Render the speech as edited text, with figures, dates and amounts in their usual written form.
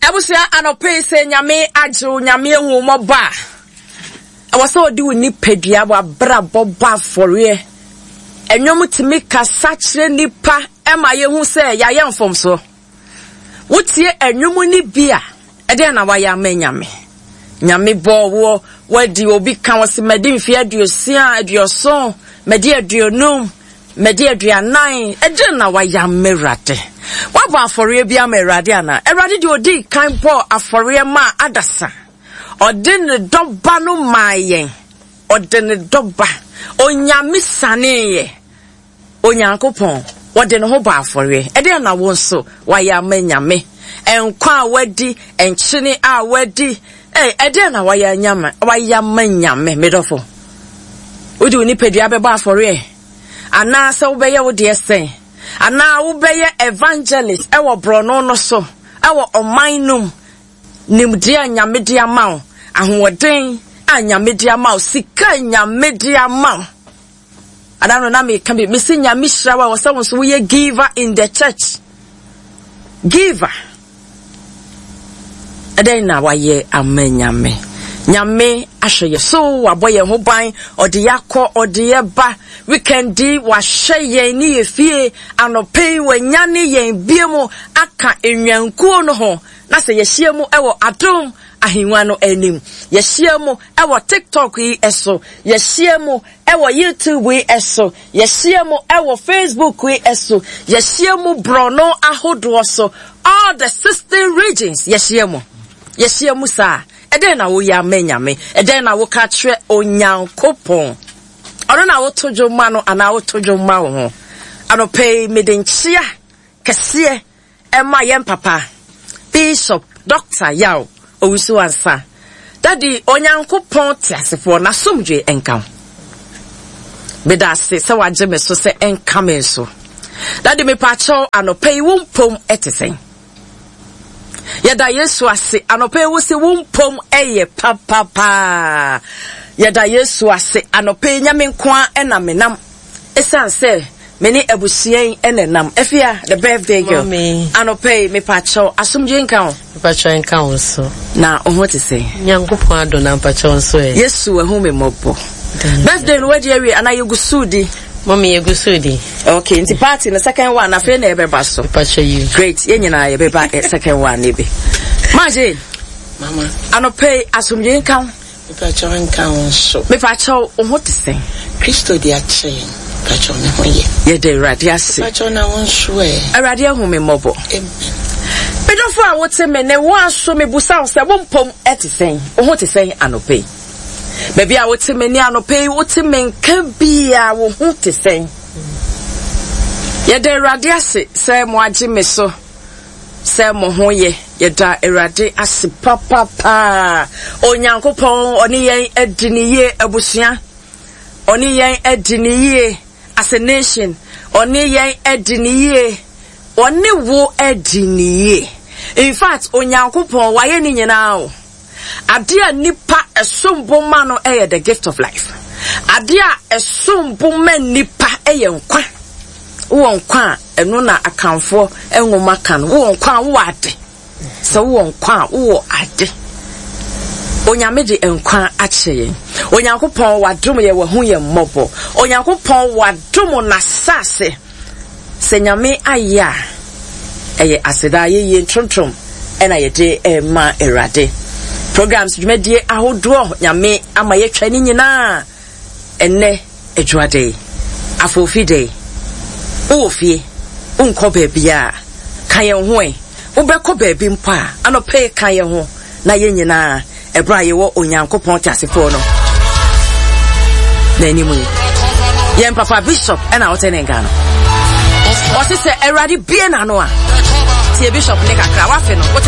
Abusua anɔpa yi sɛ Nyame agye wo, Nyame ahu wo mmɔbɔ a, ɛwɔ sɛ ɔde wo nipadua, w'abrabɔ bɔ afɔreɛ. Ɛnwom tumi kasa kyerɛ nipa ɛma yɛhu sɛ yɛayɛ mfomsoɔ. Wotie ɛnwom no bi a, ɛdeɛn na wayɛ ama Nyame? Nyame bɔɔ woɔ, wadi obi ka wɔ se madi mfeɛ aduosia, aduɔson, madi aduonum, Madi aduanan, ɛdeɛn na wayɛ ama Awurade? Woabɔ afɔreɛ bi ama Awurade anaa? Awurade deɛ ɔdii kan bɔɔ afɔreɛ maa adasa. Ɔde ne dɔba no maa yɛn. Ɔde ne dɔba. Onyame saneeɛ. Onyankopɔn, ɔde ne ho bɔ afɔreɛ. Ɛdeɛn na wo nso wayɛ ama Nyame? Nkwa a wadi, nkyene a wadi, Ei, ɛdeɛn na wayɛ anyama, wayɛ ama Nyame, me dɔfo? Wode wo nipadua bɛbɔ afɔreɛ? Anaasɛ wobɛyɛ wo deɛ sɛn? Anaa wobɛyɛ evangelist ɛwɔ borɔno no so, ɛwɔ ɔman no mu? Nimdeɛ a Nyame de ama wo, ahoɔden a Nyame de ama wo, sika a Nyame de ama wo. Ada no na meka bi, mese Nyame hyira wo a, wɔ sɛ wo nso woyɛ giver in the church. Giver. Ɛdɛn na wayɛ ama Nyame? Nyame ahwɛ yɛ so, wabɔ yɛn ho ban, ɔde yɛ akɔ, ɔde yɛ ba. Weekend yi, wahwɛ yɛn ne yɛ fie. Anɔpa yi, wanyane yɛn bie mu aka nnwankuo no ho. Na sɛ yɛhyia mu wɔ adom ahengua no anim. Yɛhyia mu wɔ TikTok yi so. Yɛhyia mu wɔ YouTube yi so. Yɛahyia mu wɔ Facebook yi so, yɛahyia mu borɔno ahodoɔ so, all the 16 regions yɛahyia mu. Yɛahyia mu saa. Ɛdɛn na woyɛ ama Nyame? Ɛdɛn na woka kyerɛ Onyankopɔn? Ɔno na woto dwom ma no anaa woto dwom ma wo ho? Anɔpa yi mede nkyea kɛseɛ Ɛma yɛn papa Bishop Doctor Yaw Owusu Ansah Daddy Onyankopɔn teasefoɔ n'asomdwoe nka wo. Meda ase sɛ wagye me so sɛ ɛnka me nso. Daddy mepaakyɛw anɔpa yi wo mpom ɛte sɛn? Yɛda Yesu ase anɔpa yi wo se wo mpom ɛyɛ papapaa. Yɛda Yesu ase anɔpa yi nyame nko ara ɛna menam. Esiane sɛ me ne abusua yi na ɛnam. Afia, the birthday girl. Mommy. Anɔpa yi, mepakyɛw, asomdwoe nka wo. Mepakyɛw nka wo nso. Na wo ho te sɛn? Nyankopɔn adom na mpakyɛw nso ɛ. Yesu ahu me mmɔbɔ. Birthday no wadi awie anaa yɛgu so di? Mommy, yɛgu so di. Okay, nti party no second one afei na ɛbɛba so. Mepakyɛw yi. Great, yɛn nyinaa yɛbɛba eh, second one no bi. Ma Jane. Mama. Anɔpa yi, asomdwoe nka wo. Mepakyɛw nka wo nso. Mepakyɛw wo ho te sɛn? Kristo de akyɛ yɛn. Mepakyɛw me ho yɛ. Yɛda Awurade ase. Mepakyɛw na wo nso ɛ? Awurade ahu me mmɔbɔ. Amen. Me dɔfo a wote me ne wo aso mebusa wo sɛ wo mpom te sɛn? Wo ho te sɛn anɔpa yi? Baabi a wote me ne anɔpa yi wote me nka biara wo ho te sɛn? Yɛda Awurade ase sɛ mo agye me so. Sɛ mo ho yɛ, yɛda Awurade ase papapaa. Onyankopɔn ɔne yɛn adi ne yie abusua. Ɔne yɛn adi ne yie as a nation. Ɔne yɛn adi ne yie. Ɔne wo adi ne yie. In fact, Onyankopɔn wayɛ ne nyinaa o. Adeɛ a nipa ɛsom bo ma no yɛ the gift of life. Adeɛ a ɛsom bo ma nipa yɛ nkwa. Wowɔ nkwa a, ɛno na Akanfoɔ nwoma ka no. Wowɔ nkwa a, wowɔ ade. Sɛ wowɔ nkwa a, wowɔ ade. Onyame de nkwa akyɛ yɛn. Onyankopɔn wadom yɛn, wahu yɛn mmɔbɔ. Onyankopɔn wadom n'asase. Sɛ Nyame ayɛ a, ɛyɛ aseda, ayɛyie, ntrontrom ɛna yɛde ɛma Awurade. Programs dwumadie ahodoɔ Nyame ama yɛatwa ne nyinaa ɛnɛ Adwuada yi, Afoofi da yi, wowɔ fie, wonkɔ baabiara a, ka yɛn ho ɛ. Wobɛkɔ baabi mpo a, anɔpa yi ka yɛn ho na yɛn nyinaa, ɛberɛ a yɛwɔ Onyankopɔn teasefoɔ no n'anim yi. Yɛn papa bishop ɛna wote ne nka no. Ɔse sɛ Awurade bie n'ano a, tie bishop ne kakra, wafe no.